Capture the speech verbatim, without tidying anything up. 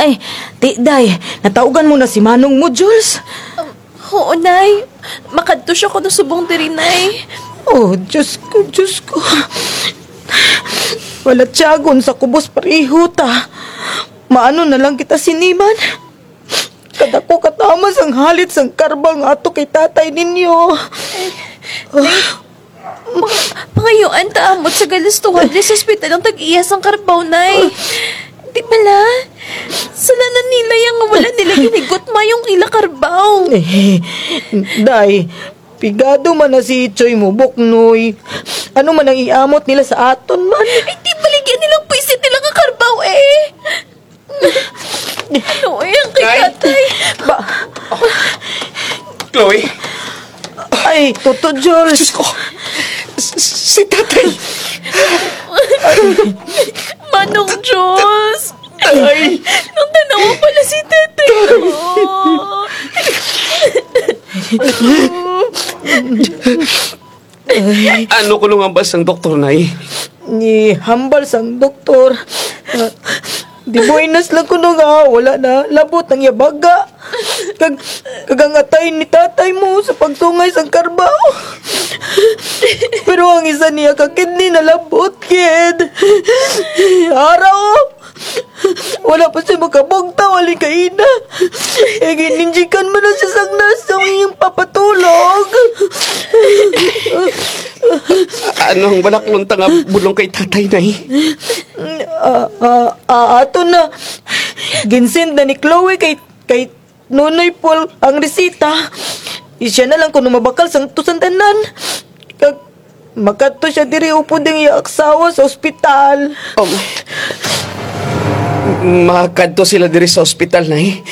Ay, ti, Day, natawgan mo na si manong mo, Jules? Um, oo, Nay. Makadto siya kuno subong diri, Nay. Oh, Diyos ko, Diyos ko. Wala tiyagon sa kubos pareho ta. Maano na lang kita siniman? Kadako kataman sang halit sang karbaw nga ato kay tatay ninyo. Nay, ma-, mangayuan ta amot sa galustuhan diri sa ospital ang tag-iya sang karbaw, Nay. Di bala? Sala na nila ya nga wala nila ginhigugma ang ila karbaw. Eh, Day, pigado man na si Ichoy mo buknoy. Ano man ang iamot nila sa aton man? Ay, ti baligya nilang pwisit nila nga karbaw, eh. Ano, eh, ang kay Nay! Tatay? Ba- Chloe! Ay, Toto Jules! Diyos ko! S-, s-, si tatay! Manong Jules! Tay! Nagtan-awa pala si tatay ko. Ano kuno ang hambal sang doktor, Nay? Nihambal sang doktor, ah, de buenas lang kuno nga wala nalabot ang iya baga. Kag, kag ang atay ni tatay mo sa pagsungay sang karbaw. Pero ang isa niya ka kidney nalabot gid. Ara, o! Wala pa siya makabugtaw halin kaina. Eh, gininjikan man na siya sang nurse sa iyang papatulog. Ano ang balaklon ta nga bulong kay tatay, Nay? Ah, ah, ah, ato na. Ginsend na ni Chloe kay, kay Nonoy Paul ang resita. Isya na lang kuno mabakal sang to sang tanan. Kag makadto siya diri upod ang iya asawa sa ospital. Um, makadto sila diri sa ospital, Nay?